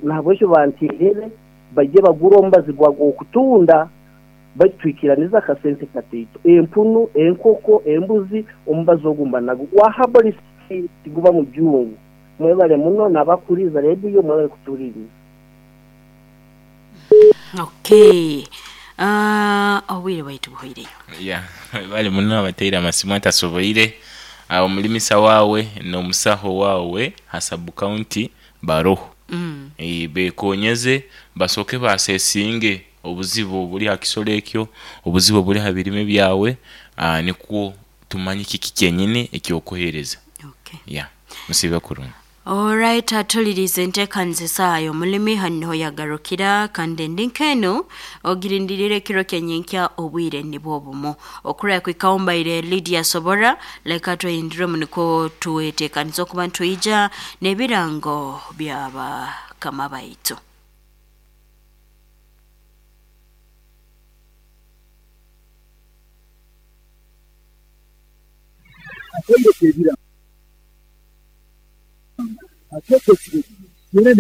Nahabwekyo banterere bajye bagura omubazi gw'okutunda, baitu twikiraniza akasente kataito. Empunu, enkoko, embuzi, omubazi ogu mba nagwo gwa herbalist, tiguba mujungu. Mwebale muno n'abakuriza rediyo, mwebale kutuhuliriza. Okay. Obwire bwaitu buhoireyo. Yeah, bali muno abateire amasimu atasoboire. Omulimisa waawe n'omusaho waawe ha sub county baroho. Bekonyeze basooke basesinge obuzibu obuli ha kisolo ekyo, obuzibu obuli ha birime byawe, nikwo tumanye kiki kyenyini ekyokuhereza. Okay. Yeah, musiibe kurungi. Alright, atulirize enteekaniza esaaha y'omulimi hanu niho yagarukira, kandi endi nk'enu ogirindirire ekiro kyenyinkya obwire nibwo obumu okuraya kwikaho mbaire Lydia Sobora. Leka twehinduremu nikwo twetekaniza okuba nitwija n'ebirango by'abakama baitu. Akaire k'ebirango.